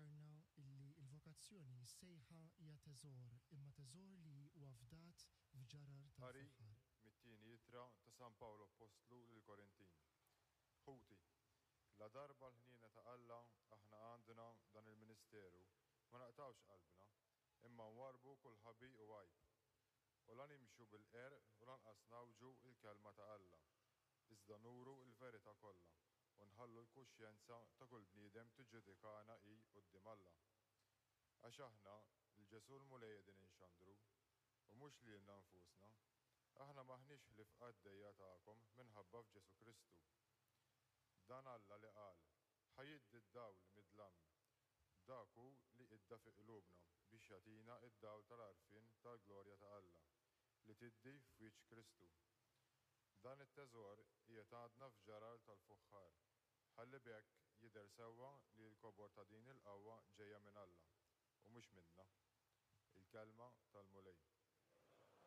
Ifakkarna illi l-vokazzjoni, is-sejħa hija teżor, imma teżor li huwa fdat f'ġarar Qari tal-fuħħar. mit-tieni ittra ta' San Pawl Appostlu lill-Korintin. Ħuti, ladarba l-ħniena ta' Alla aħna għandna dan il-ministeru, ma naqtgħux qalbna, imma nwarrbu kull ħabi u għajb. U la nimxu bil-qerq u lanqas ngħawġu l-kelma ta' Alla, iżda nuru l-verità kollha, u nħallu l-kuxjenza ta' kull bniedem tiġġudikana hi quddiem Alla. Għax aħna, 'l Ġesù l-Mulej qegħdin inxandru, u mhux lilna nfusna. Aħna m'aħniex ħlief qaddejja tagħkom minħabba f'Ġesù Kristu. Dan Alla li qal, Ħa jiddi d-dawl mid-dlam, dak hu li idda fi qlubna biex jagħtina d-dawl tal-għarfien tal-glorja ta' Alla, li tiddi f'wiċċ Kristu. Dan it-teżor qiegħed għandna f'ġarar tal-fuħħar, ħalli b'hekk jidher sewwa li l-kobor ta' din il-qawwa ġejja minn Alla, u mhux minna. Il-Kelma tal-Mulej.